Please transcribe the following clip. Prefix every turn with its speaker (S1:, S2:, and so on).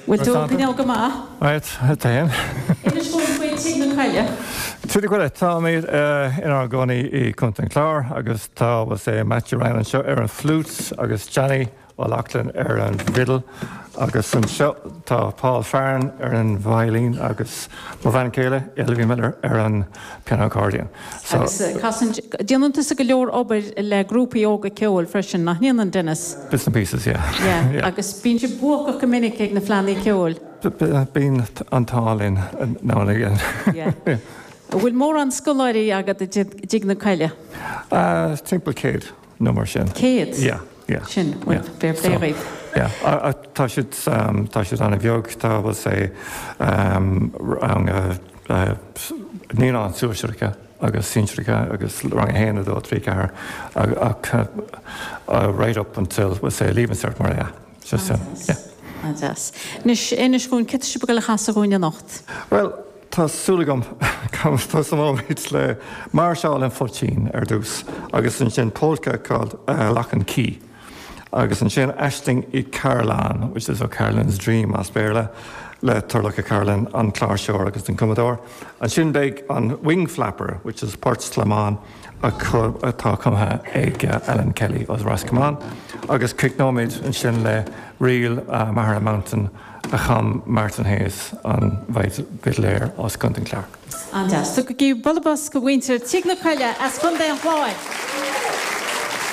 S1: Bhfuil tú ag coinneáil go maith?
S2: Right, tá féin.
S1: Inis dúinn faoi Tigh na Coille.
S2: Tigh na Coille, táimid inár gcónaí i gContae an Chláir agus tá, we'll say, Matthew Ryan anseo ar an flute agus Johnny O'Loughlin ar an bhfidil agus anseo tá Paul Farren ar an veidhlín agus mo bhean chéile, Ailbhe Miller, ar an piano accordion.
S1: So. Agus casann, déanann tusa go leor obair le grúpaí óga ceoil freisin, nach ndéanann, Denis?
S2: Bits and pieces, yeah.
S1: Yeah, agus bíonn sibh buacach go minic ag na fleánna ceoil.
S2: Bíonn an t-ádh linn now and again.
S1: Yeah. An bhfuil mórán scoláirí agat i dTigh na Coille?
S2: Timpeall 100 nó mar sin.
S1: 100?
S2: Yeah, yeah.
S1: Sin, bhuel, fair play dhaoibh.
S2: Yeah, tá siad, tá siad an-bheag, tá, we'll say, rang naíonáin sóisearacha agus sinsearacha agus rang 1, 2, 3, 4 ach right up until, we'll say, Leaving Cert mar yeah. So sin, yeah.
S1: An-deas. Anois, inis dhúinn, céard tá sibh ag dul a chasadh dhúinn anocht?
S2: Bhuel, tá súil agam go dtosóimid le Máirseáil an Phoitín ar dtús agus ansin polka called Loughan Quay agus ansin Aisling Uí Cairealláin, which is O'Carolan's Dream as Béarla, le Turlough O'Carolan, an cláirseoir agus an cumadóir. Ansin beidh an Wing Flapper, which is Port Slamáin, atá cumtha ag Alan Kelly as Ros Comáin agus críochnóimid ansin le ríl Maghera Mountain a chum Martin Hayes, an bhfidléir as Contae an Chláir.
S1: An-deas. Tugaigí bualadh bos do mhuintir Tigh na Coille as Contae an Chláir!